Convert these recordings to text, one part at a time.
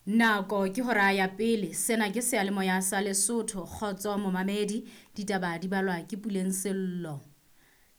Nako ke hora ya pele. Sena ke seyalemoya sa Lesotho. Kgotso momamedi, ditaba di balwa ke Puleng Sello.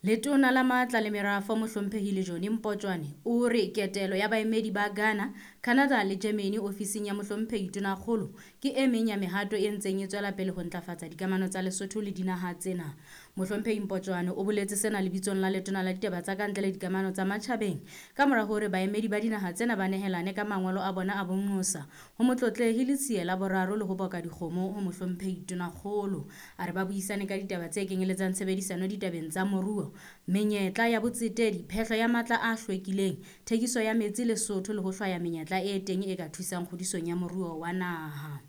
Letona la Matla le Merafo Mohlomphehi Lejone Mpotjwane o re ketelo ya baemedi ba Ghana, Canada le Germany ofising ya Mohlomphehi Tonakgolo ke e meng ya mehato e ntseng e tswela pele ho ntlafatsa dikamano tsa Lesotho le dinaha tsena. Mohlomphehi Mpotjwane o boletse sena lebitsong la Letona la Ditaba tsa Kantle le Dikamano tsa Matjhabeng kamora hore baemedi ba dinaha tsena ba nehelane ka mangolo a bona a bonqosa ho Motlotlehi Letsie la Boraro le ho boka dikgomo ho Mohlomphehi Tonakgolo. A re ba buisane ka ditaba tse kenyeletsang tshebedisano ditabeng tsa moruo, menyetla ya botsetedi, phehlo ya matla a hlwekileng, thekiso ya metsi Lesotho le ho hlwaya menyetla e teng e ka thusang kgodisong ya moruo wa naha.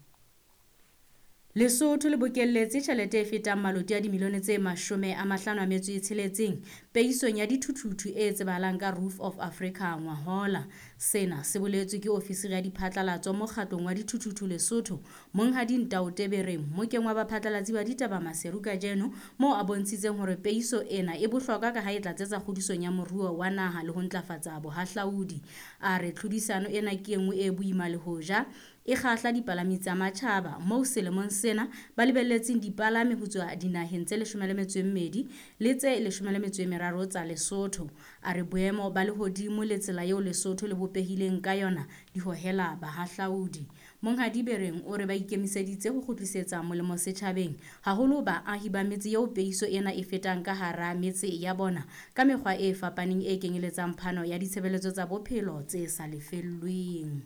Lesotho le bokelletse tjhelete e fetang maloti a dimilione tse 56 peisong ya dithuthuthu e tsebahalang ka Roof of Africa ngwahola. Sena se boletswe ke ofisiri ya diphatlalatso mokgatlong wa dithuthuthu Lesotho, Monghadi Ntaote Bereng, mmokeng wa baphatlalatsi ba ditaba Maseru kajeno, moo a bontshitseng hore peiso ena e bohlokwa ka ha e tlatsetsa kgodisong ya moruo wa naha le ho ntlafatsa bohahlaudi. A re tlhodisano ena ke e nngwe e boima le hoja e kgahla dipalami tsa matjhaba, moo selemong sena ba lebelletseng dipalami ho tswa dinaheng tse 12 le tse 13 tsa Lesotho. A re boemo ba lehodimo le tsela eo Lesotho le bopehileng ka yona di hohela bahahlaudi. Monghadi Bereng o re ba ikemiseditse ho kgutlisetsa molemo setjhabeng, haholo baahi ba metse eo peiso ena e fetang ka hara metse ya bona ka mekgwa e fapaneng e kenyeletsang phano ya ditshebeletso tsa bophelo tse sa lefellweng.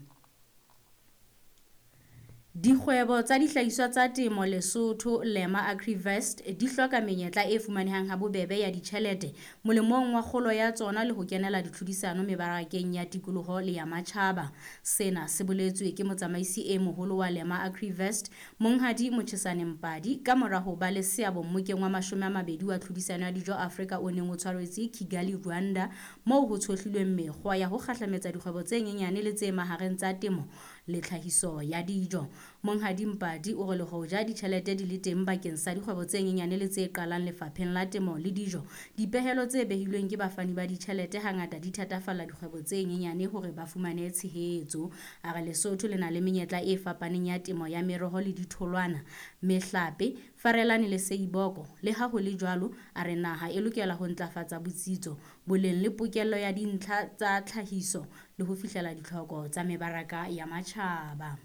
Dikgwebo tsa dihlahiswa tsa temo Lesotho, Lema Agrivest, di hloka menyetla e fumanehang habobebe ya ditjhelete molemong wa kgolo ya tsona le ho kenela ditlhodisano mebarakeng ya tikoloho le ya matjhaba. Sena se boletswe ke motsamaisi e moholo wa Lema Agrivest, Monghadi Mochesane Mpadi, kamora ho ba le seabo mmokeng wa 20 wa tlhodisano ya dijo Afrika o neng o tshwaretswe Kigali, Rwanda, moo ho tshohlilweng mekgwa ya ho kgahlametsa dikgwebo tse nyenyane le tse mahareng tsa temo le tlhahiso ya dijo. Monghadi Mpadi o re le hoja ditjhelete di le teng bakeng sa dikgwebo tse nyenyane le tse qalang lefapheng la temo le dijo, dipehelo tse behilweng ke bafani ba ditjhelete hangata di thatafalla dikgwebo tse nyenyane hore ba fumane tshehetso. A re Lesotho le na le menyetla e fapaneng ya temo ya meroho le ditholwana, mehlape, farelane le seiboko. Le ha ho le jwalo, a re naha e lokela ho ntlafatsa botsitso, boleng le pokello ya dintlha tsa tlhahiso le ho fihlela ditlhoko tsa mebaraka ya matjhaba.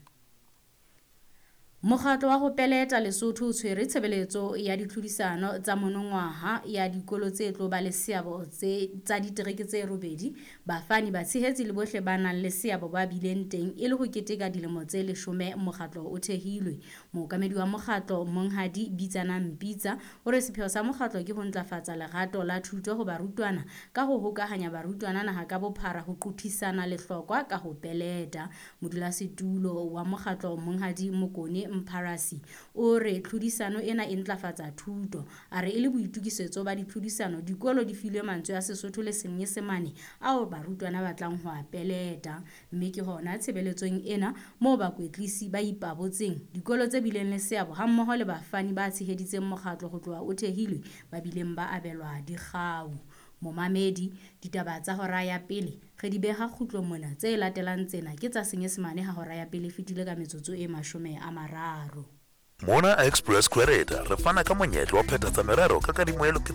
Mokgatlo wa ho peleta Lesotho o tshwere tshebeletso ya ditlhodisano tsa monongwaha ya dikolo tse tlo ba le seabo tsa ditereke tse 8, bafani, batshehetsi le bohle ba nang le seabo ba bileng teng e le ho keteka dilemo tse 10 mokgatlo o thehilwe. Mookamedi wa mokgatlo Monghadi Bitsanang Mpitsa o re sepheo sa mokgatlo ke ho ntlafatsa lerato la thuto ho barutwana ka ho hokahanya barutwana naha ka bophara ho qothisana lehlokwa ka ho peleta. Modulasetulo wa mokgatlo Monghadi Mokone Mpharasi o re tlhodisano ena e ntlafatsa thuto. A re e le boitokisetso ba ditlhodisano, dikolo di filwe mantswe a Sesotho le Senyesemane ao barutwana ba tlang ho a peleta. Mme ke hona tshebeletsong ena moo bakwetlisi ba ipabotseng, dikolo tse bileng le seabo hammoho le bafani ba tsheheditseng mokgatlo ho tloha o thehilwe ba bileng ba abelwa dikgau. Momamedi, ditaba tsa hora ya pele re di beha kgutlong mona. Tse latelang tsena ke tsa Senyesemane ha hora ya pele e fetile ka metsotso e 30. Mona Express Credit re fana ka monyetla wa phethatsa merero ka kadimo e loketseng.